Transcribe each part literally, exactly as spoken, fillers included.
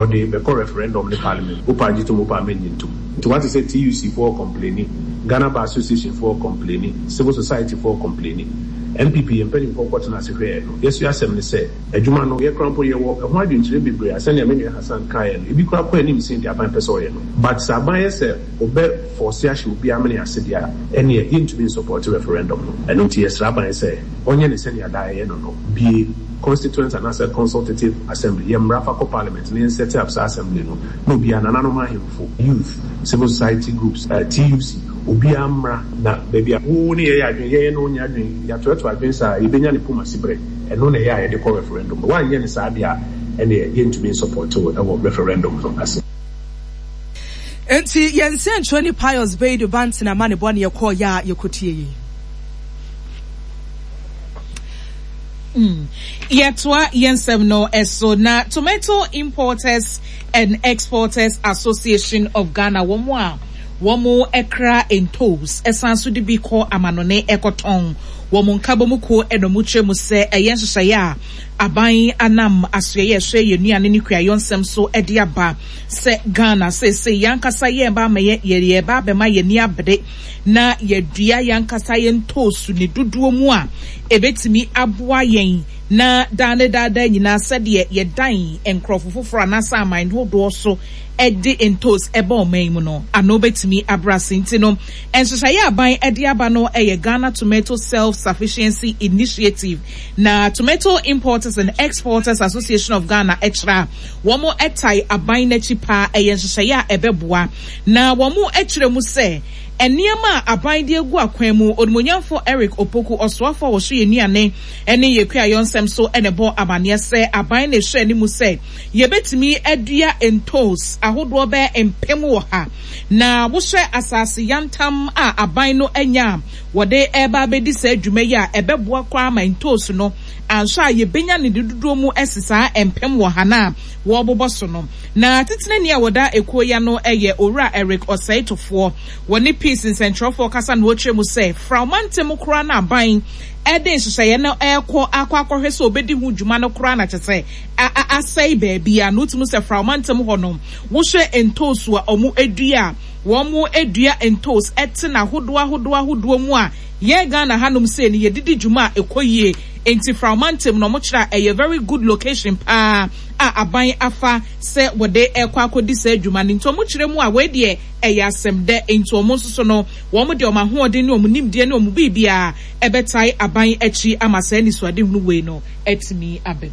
Ɔde bɛkɔ referendum ne parliament. Wopɛ agye tom, wopɛ amɛnyi ntom. Nti wate sɛ T U C foɔ complaini, Ghana Bar Association foɔ complaini, civil society foɔ complaini. N P P yɛn mpanimfoɔ kɔtena ase hwɛɛ no, yɛso asɛm ne sɛ adwuma no, yɛkora mpo yɛwɔ ɛho adwenkyerɛ bebree a sɛnea me nua Hassan kaeɛ no, ebi kora kɔ anim sen deɛ aban pɛ sɛ ɔyɛ no. But sɛ aban yɛ sɛ ɔbɛ force ahyɛ obi amene ase deɛ a, ɛneɛ yɛntumi nsupport referendum no. Ɛno nti yɛsrɛ aban sɛ ɔnyɛ ne sɛnea daa ɛyɛ no no bie constituent anaasɛ consultative assembly, yɛ mmara fa kɔ parliament na yɛn set up saa assembly no na obiara, nananom ahemfo, youth, civil society groups, uh, T U C, obiara mmra na baabi a wo ne yɛyɛ adwene, yɛyɛ no nyɛ adwene, yɛatoɛto adwene saa, yɛbɛnya ne poma siberɛ. Ɛno na ɛyɛ a yɛde kɔ referendum no. Woanyɛ ne saa deɛ a, ɛneɛ yɛntumi nsupport ɛwɔ referendum no ase. Nti yɛn nsɛntwerɛ Pius Beidu Bantena ma ne bɔ ne yɛkɔɔ yɛ a yɛkɔtie yi. Mm. Yɛtoa yɛn nsɛm no ɛso na Tomato Importers and Exporters Association of Ghana, wɔn a wɔn kra ntos ɛsan so de bi kɔ amanɔne ɛkɔtɔn, wɔn nkabom kuo ɛna wɔn kyerɛ mu sɛ ɛyɛ nhyehyɛeɛ a aban anam asoɛyɛ ɛhwɛ yɛn nnuane ne kuayɔ nsɛm so ɛde aba sɛ Ghana seesei yɛn ankasa yɛn ba ama yɛ yɛ ba abɛma yɛn ani abere na yɛdua yɛn ankasa yɛn ntoosu ne dodoɔ mu a ebetumi aboa yɛn na daa ne daadaa nyinaa, sɛdeɛ yɛdan nkurɔfo foforɔ anaasɛ aman hodoɔ so ɛde ntos ɛba ɔman mu no ano bɛtumi abra ase. Nti no nhyehyɛeɛ aban ɛde aba no ɛyɛ Ghana Tomato Self Sufficiency Initiative, na Tomato Importers and Exporters Association of Ghana ɛkyerɛ a wɔn ɛtae aban n'akyi paa. Ɛyɛ nhyehyɛeɛ a ɛbɛboa na wɔn ɛkyerɛ mu sɛ nneɛma a aban de agu akwan mu, Onimonyamfo Eric Opoku, ɔsoafo a wɔso yɛ nnuane ne yɛ kuayɔ nsɛm so, ɛna ɛbɔ amanneɛ sɛ aban na ɛhwɛ anim sɛ yɛbɛtumi adua ntos ahodoɔ bɛɛ mpem wɔ ha, na wohyɛ asase yantam a aban no anya a wɔde ɛreba abɛdi saa adwuma yi a, ɛbɛboa koraa ma ntos no anhwɛ a yɛbɛnya ne dodoɔ mu ɛsi saa mpem wɔ ha na wɔrebobɔ so no. Na titenani a wɔda ekuo ya no yɛ Owura Eric Ɔsɛetofoɔ. Wɔne Peace nsɛntwerɛfoɔ kasa na wɔkyerɛ mu sɛ fraumantam koraa na aban ɛde nhyehyɛeɛ no ɛrekɔ akɔ akɔhwɛ sɛ obɛdi ho dwuma no koraa na kyɛ sɛ asɛe baabi a na wotumi sɛ fraumantam hɔ no, wohwɛ ntoosu a wɔn adua a wɔn adua ntos ɛte n'ahodoɔ ahodoɔ ahodoɔ mu a yɛn Ghana hanom sei no yɛdidi dwuma a ɛkɔ yie. Nti fraumantam na wɔn kyerɛ a ɛyɛ very good location paa a aban afa sɛ wɔde ɛkɔ akɔdi saa adwuma no. Nti wɔn kyerɛ mu a, wei deɛ ɛyɛ asɛm dɛ. Nti wɔn nso so no, wɔn de wɔn ahoɔden ne wɔn nimdeɛ ne wɔn biribiara ɛbɛtae aban akyi ama saa nisuadehunu wei no atumi abɛm.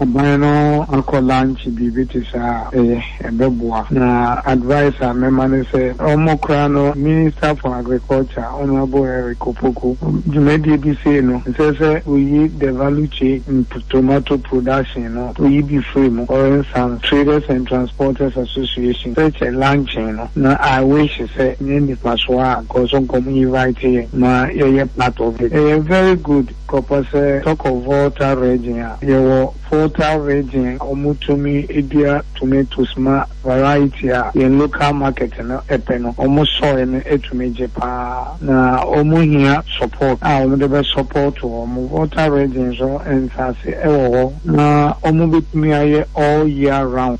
Aban no akɔ launch biribi te saa, ɛyɛ, ɛbɛboa. Na advice a mɛma ne sɛ ɔmo koraa no, Minister for Agriculture, Honourable Eric Opoku, dwumadie bi sei no, nsɛ sɛ oyi the value chain in tomato production no, oyi bi firi mu. For instance, Traders and Transporters Association, such a launching no, na I wish sɛ nyɛ nipa so a nkɔso nkɔm invite yɛ ma yɛyɛ part of it. Ɛyɛ very good kɔpɔ sɛ talk of Volta Region a, yɛwɔ Volta Region, ɔmo tumi dua tomatoes ma variety a yɛn local market no ɛpɛ no. Ɔmo soil no etumi gye paa na ɔmo hia support a ɔmo de bɛ support ɔmo. Volta Region so nsaase ɛwɔ hɔ na ɔmo betumi ayɛ all year round.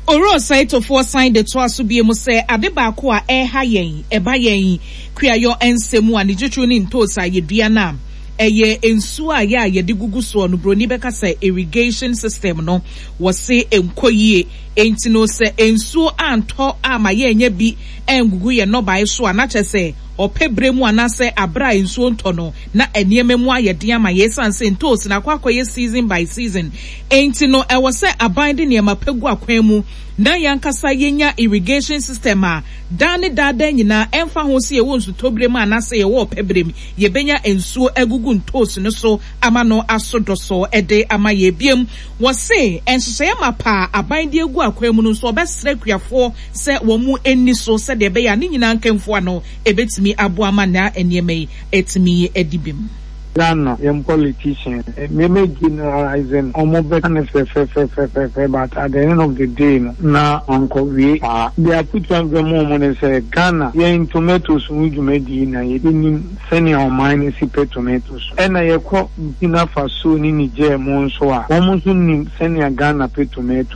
Owura Ɔsɛetofoɔ san de toa so bie mu sɛ ade baako a ɛreha yɛn ɛba yɛn kuayɔ nsɛm a ne twitwiw ne ntoos a yɛdua no a, ɛyɛ nsuo a yɛ a yɛde gugu soɔ no, broni bɛka sɛ irrigation system no, wɔse nkɔ yie. Enti no sɛ nsuo antɔ ama yɛnyɛ bi ɛngugu yɛn nnɔbae so a, na kyerɛ sɛ ɔpɛ bere mu anaasɛ abere a nsuo ntɔ no na nneɛma mu ayɛ den ama yɛn, esiane sɛ ntoos na akɔ akɔyɛ season by season. Enti no ɛwɔ sɛ aban de nneɛma pɛ gu akwan mu na yɛankasa yɛnya irrigation system a daa ne daadaa nyinaa, ɛmfa ho sɛ yɛwɔ nsutɔbere mu anaasɛ yɛwɔ ɔpɛ bere mu, yɛbɛnya nsuo agugu ntoos no so ama no aso dɔsɔ ɛde ama yɛ biem. Wɔse nhyehyɛeɛ ma paa aban de agu akwan mu no nso, ɔbɛsrɛ akuafoɔ sɛ wɔn mu ani so sɛdeɛ ɛbɛyɛ a ne nyinaa nkɛmfoa no ɛbɛtumi aboa ama na nneɛma yi ɛtumi adi bim. Ghana yɛn politician, nneɛma generalizing, ɔmo bɛka ne fɛfɛfɛfɛfɛ, but at the end of the day no na ankɔ wie saa. De afotu bɛma ɔmo ne sɛ Ghana yɛn tomatoes ho dwumadie na yɛnim sɛnea ɔman no si pɛ tomatoes, ɛna yɛkɔ Burkina Faso ne Niger mu nso a, wɔn nso nim sɛnea Ghana pɛ tomato.